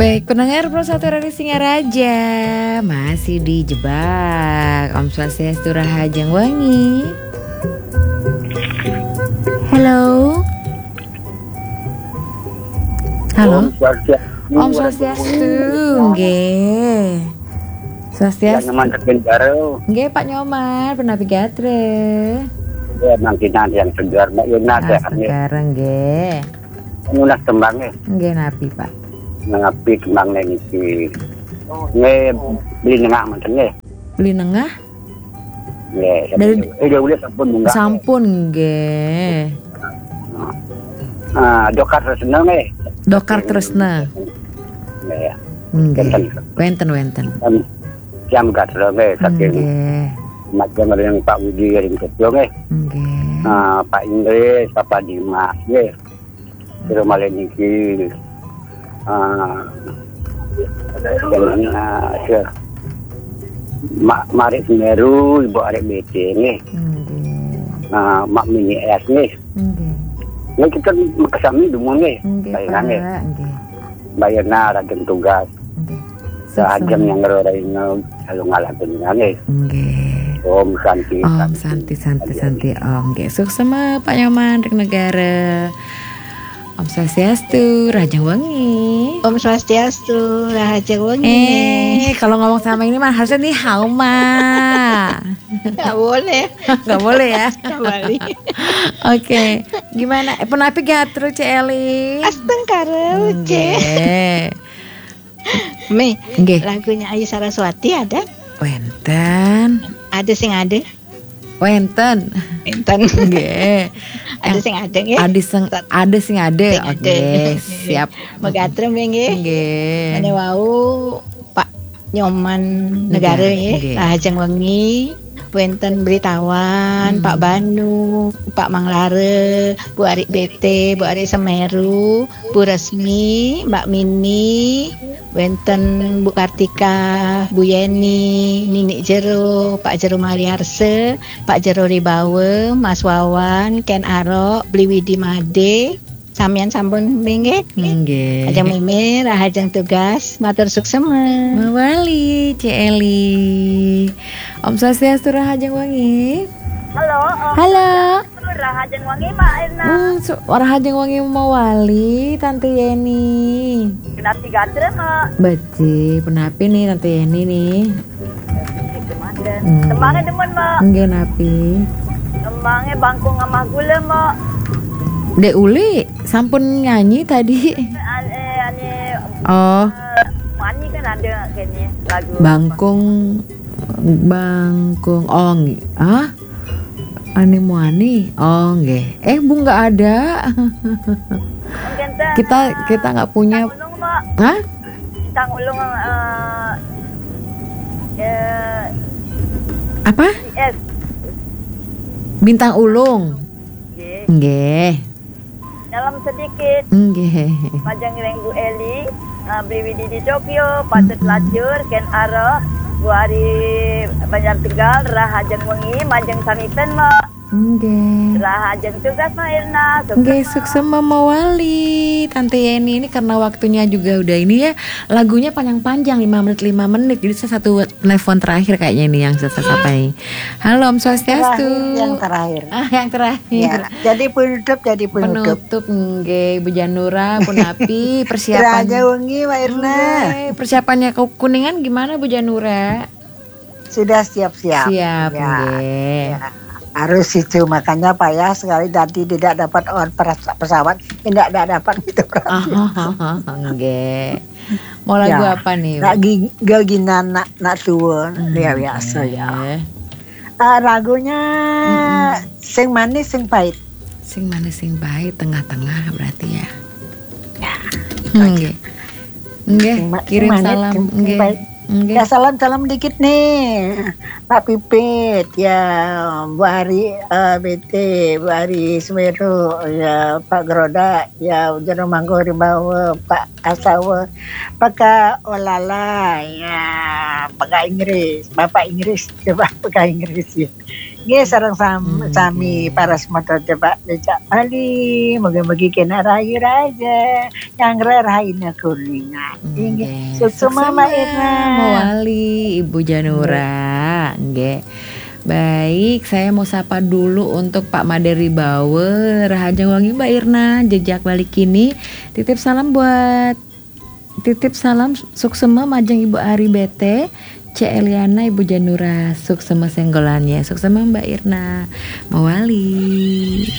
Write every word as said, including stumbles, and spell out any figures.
Baik, pendengar Pro satu Radio Singaraja, masih dijebak. Om Swastiastu, Rahajeng Wengi. Halo. Halo. Om Swastiastu. Om Swastiastu, nggih. Swastiastu. Yang nyemantekin baru. Nggih, Pak Nyoman, punapi gatra? Ya, mangkin yang segar, Mbak Yuna, ah, sehat, nggih. Segar, nggih. Nunas tembang, nggih. Nggih, napi, Pak? Napi tembang niki? Nggih, Beli Nengah mangkin, nggih. Beli Nengah? Nggih, dari, eh, dia udah sampun munggah. Sampun, nggih. Ah, Dokar Tresna, nggih. Dokar Tresna. Nggih, ya. Nggih. Wénten. Wénten, wénten. Kan siam gatra, nggih, saking, nggih, majeng ring Pak Widi ring Tokyo, nggih. Nggih. Ah, Pak Inggris, Pak Dimas, nggih. Terus malih niki, ah, dengan, ah, se-, Mak Marik Semeru, Ibu Arek B T, nggih. Nggih. Ah, Mak Mini S, nggih. Nggih. Nggih, kita kesami dumun, nggih. Nggih, Pak, nggih. Bayarna rajin tugas. Nggih. Rajin yang ngerorain, lalu ngalahin, nggih. Nggih. Om Santi, Om Santi, Santi, Santi, Santi, Om. Nggih, suksma Pak Nyoman ring Negara. Om Swastiastu, Rahajeng Wengi. Om Swastiastu, Rahajeng Wengi. Eh, kalau ngomong sama ini mah harusnya ni hao ma. Nggak boleh. Nggak boleh, ya? Nggak boleh. Oke, gimana? Eh, punapi gatra, Cek Eli? Astungkara, Cek. Nggih. Mi, nggih. Lagunya Ayu Saraswati ada? Wénten. Ada sing ada? Wénten. Wénten. Nggih. Ada sing ada, nggih? Ada sing, ada sing ada. Sing ada. Oke, siap. Magatra, Mi, nggih. Nggih. Mane wau Pak Nyoman, nggih, Negara, nggih, nggih. Rahajeng Wengi. Wénten Beritawan, hmm, Pak Banu, Pak Manglara, Bu Arik B T, Bu Arik Semeru, Bu Resmi, Mbak Mini, wénten Bu Kartika, Bu Yeni, Nini Jero, Pak Jero Maliarse, Pak Jero Ribawa, Mas Wawan, Ken Arok, Bli Widi Made, samian sampun, nggih? Nggih. Ajeng Mimir, Rahajeng Tugas, matur suksma. Mawali, Cek Eli. Om Swastiastu, Rahajeng Wengi. Halo, Om. Halo. Rahajeng Wengi, Mak Erna. Hmm, su-, Rahajeng Wengi mawali, Tante Yeni. Punapi gatra, Mak? Becik, punapi nih, Tante Yeni nih? Hmm. Tembangnya demen, Mak. Nggih, napi? Tembangnya Bangkung Amah Gula, Mak. Dek Uli sampun nyanyi tadi. Ane, ane, oh. Eh, Muani kan ada kayaknya lagu Bangkung, Bangkung. Oh, nggih. Ah? Ane Muani. Oh, nggih. Eh, Bu nggak ada. Mungkin teh, kita, eh, kita nggak punya. Bintang Ulung, Mak. Hah? Bintang Ulung, eh, eh, apa? Yes. Bintang Ulung. Nggih. Nggih. Dalam sedikit. Nggih. Majeng ring Bu Eli, eh, Bli Widi di Tokyo, Patut, mm-mm, Lacur, Ken Arok, Bu Ari Banjar Tegal, Rahajeng Wengi, majeng samiten, Mak. Nggih. Rahajeng Tugas, Mak Erna. Nggih, suksma mawali, Tante Yeni. Ini karena waktunya juga udah ini ya, lagunya panjang-panjang, lima menit, lima menit. Jadi saya satu telepon terakhir kayaknya ini yang saya sapa ini. Halo, Om Swastiastu. Terakhir, yang terakhir. Ah, yang terakhir. Ya, jadi penutup, jadi penutup. Penutup, nggih, Bu Janura, punapi, persiapan. Rahajeng Wengi, Mak Erna. Nggih, persiapannya ke Kuningan gimana, Bu Janura? Sudah siap-siap. Siap, ya, nggih. Ya. Harus itu, makanya payah sekali tadi tidak dapat on pers-, pesawat, tidak, tidak dapat gitu kan. Oh, nggih. Mau lagu apa nih? Lagi gaginan nak, nak tua, hmm, ya biasa ya. Nggih. Ah, lagunya, mm-mm, sing manis, sing pahit. Sing manis, sing pahit, tengah-tengah berarti ya. Ya, gitu aja. Nggih. Nggih, sing ma-, kirim sing manis, salam. Sing, sing pahit. Nggih. Nggih. Ya, salam-salam dikit nih. Pak Pipit, ya, Bu Ari, eh, B T, Bu Ari Semeru, ya, Pak Geroda, ya, Jero Mangku Rimbawa, Pak Asawa, Pak Olala, ya, Pak Inggris, Bapak Inggris, coba Pak Inggris, ya. Nggih, sareng sami para semeton coba becak Bali, mugi-mugi kena rahayu raja, nyanggra rahayune Kuningan. Inggih, suksema Mbak Irna. Mawali Ibu Janura, nggih. Baik, saya mau sapa dulu untuk Pak Made Wibawa. Rahajeng wengi Mbak Irna, jejak Bali kini. Titip salam buat titip salam suksema majeng Ibu Ari Bete, Cek Eliana, Ibu Janura, suksema senggolannya. Suksema Mbak Irna. Mawali.